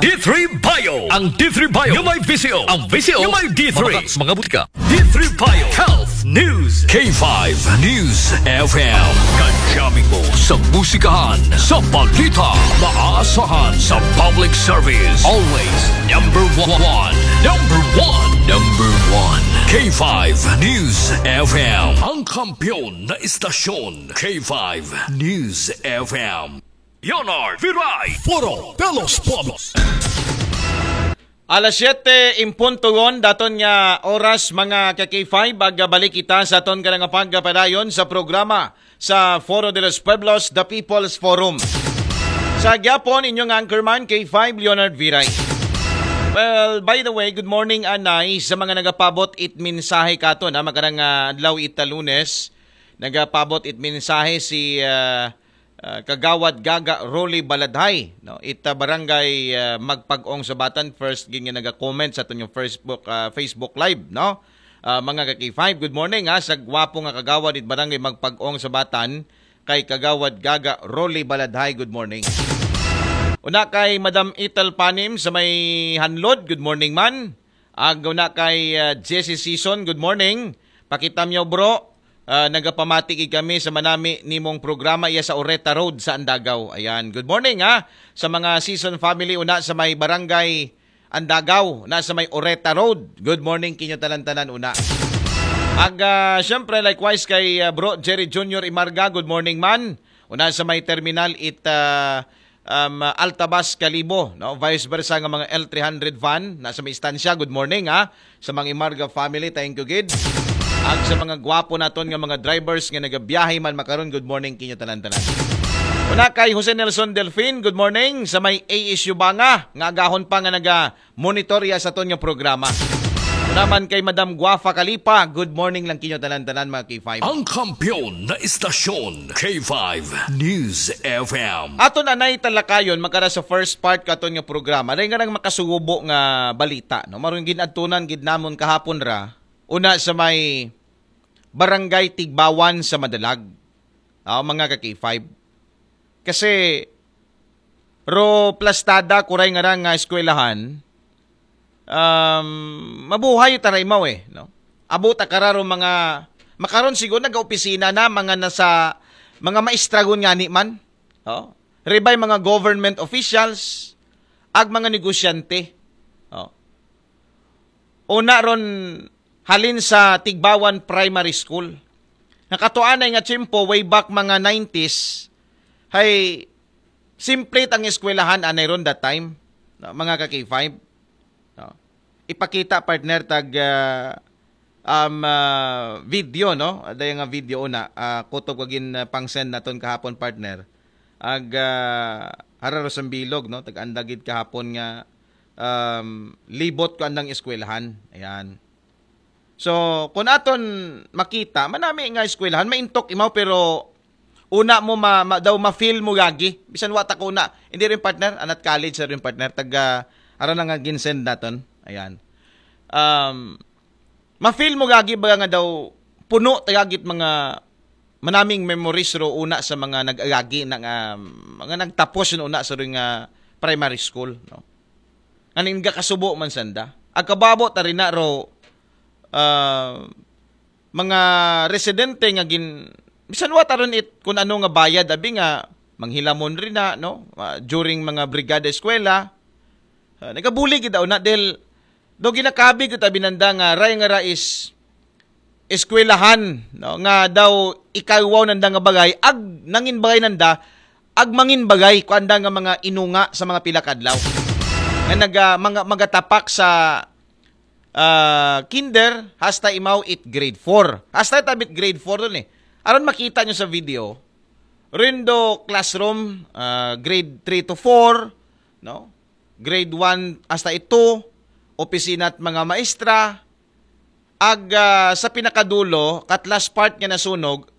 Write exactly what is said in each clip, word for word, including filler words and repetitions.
D three Bio. Ang D three Bio nga may visyo. Ang visyo nga may D three. Mga butika. D three Bio Health News. K five News F M. Kadyamin mo sa musikahan, sa balita, maaasahan sa public service. Always number one. Number one. Number one. K five News F M. Ang kampiyon na istasyon. K five News F M. Leonard Viray. Foro de los Pueblos. Alas siyete en punto yon, daton nga oras, mga ka K five, ag balik kita sa aton nga pagpadayon sa programa sa Foro de los Pueblos, The People's Forum. Sa gyapon, inyong anchorman, K five Leonard Viray. Well, by the way, good morning, anay, sa mga nagapabot it mensahe katon, ha, makarang, ah, adlaw ita Lunes, nagapabot it mensahe si, ah, ah, Kagawad Gaga Rolly Baladhay, no? Ita barangay, ah, Magpag-ong Sabatan, first gid nga naga-comment sa aton nga Facebook, ah, Facebook Live, no? Ah, mga ka K five, good morning, ha, sa gwapo nga kagawad it barangay Magpag-ong Sabatan, kay Kagawad Gaga Rolly Baladhay, good morning. Una kay Madam Ethel Panim sa may Hanlod, good morning man. Ag una kay, ah, Jesse Season, good morning. Pakita mo, bro. Ah, nagapamati gid kami sa manami nimong programa iya sa Oreta Road sa Andagaw. Ayan, good morning, ha. Sa mga Season family, una sa may barangay Andagaw, na sa may Oreta Road. Good morning kinyo tanan-tanan, una. Ag, ah, syempre, likewise kay, ah, Bro Jerry Junior Imarga, good morning man. Una sa may terminal it, ah, um, Altabas Kalibo, no? Vice versa nga mga L three hundred van, na sa may istansya, good morning, ha. Sa mga Imarga family, thank you gid. Ag sa mga gwapo naton nga mga drivers nga nagabiyahe man makaron, good morning kinyo tanan-tanan. Una kay Jose Nelson Delfin, good morning. Sa may A S U Banga, nga agahon pa nga naga-monitor iya sa aton nga programa. Una man kay Madam Guafa Kalipa, good morning lang kinyo tanan-tanan, mga K five. Ang kampiyon na istasyon, K five News F M. Aton anay talakayon, makara sa first part katon nga programa. Dahil nga nang makasubo nga balita, no? Marong ginadtunan gid namon kahapon ra, una sa may barangay Tigbawan sa Madalag. Ah, mga ka K five. Kasi, ro plastada kuray nga ra nga eskwelahan, um, mabuhay ta ra imaw eh, no? Abo ta kararo mga, makaron siguro nagaopisina na, mga nasa, mga maestra gun ngani man. Oh. Ribay mga government officials, ag mga negosyante. Oh. Una ron halin sa Tigbawan Primary School. Nakatuanay nga tiyempo, way back mga nineties, hay simple tang eskwelahan anay ron that time. No, mga ka K five. No. Ipakita, partner, tag, ah, um, ah, video, no? Ada nga video una, ah, kutob kagin, ah, pang-send naton kahapon, partner. Ag, ah, hara ro sa bilog, no? Tag-anda gid kahapon nga, um, libot ko andang eskwelahan. Ayan. So, kung aton makita, manami nga eskwelahan, maintok imaw, pero una mo ma, ma, daw ma-feel mo gagi. Bisan wa ta ko una. Hindi rin, partner, anat college rin, partner, taga, ara na nga ginsend naton. Ayan. Um, ma-feel mo gagi baga nga daw puno ta gagit mga manaming memories ro una sa mga nag-agagi na nga, mga nagtapos yun una sa rin nga primary school, no? Nga ningga kasubo man sanda. Agkababo ta rin na ro, ah, mga residente nga gin, bisan wa ta rin it kung ano nga bayad, abi nga, manghilamon rin na, no? Ah, during mga brigada eskwela, ah, nagabuli gid daw na, dahil, do ginakabi ko tabi nanda nga, ray nga ra is, eskwelahan, no? Nga daw ikaiwaw nanda nga bagay, ag nangin bagay nanda, ag mangin bagay, kuanda nga mga inunga sa mga pila kadlaw. Nga naga, mga, magatapak sa, ah, kinder, hasta imaw it grade four. Hasta itabit grade four dun eh. Aron makita nyo sa video, rindo classroom, ah, grade three to four, no? Grade one hasta it two, opisina at mga maestra, ag, ah, sa pinakadulo, kat last part nga nasunog,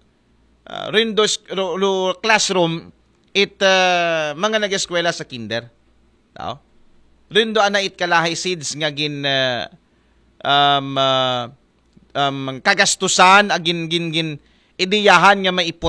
ah, rindo s-, ro, ro, classroom, it, ah, mga nag-eskwela sa kinder. Tao? Rindo ana it kalahi seeds nga gin, ah, um, ah, um, kagastusan, agin, gin, gin, ideyahan nga maipot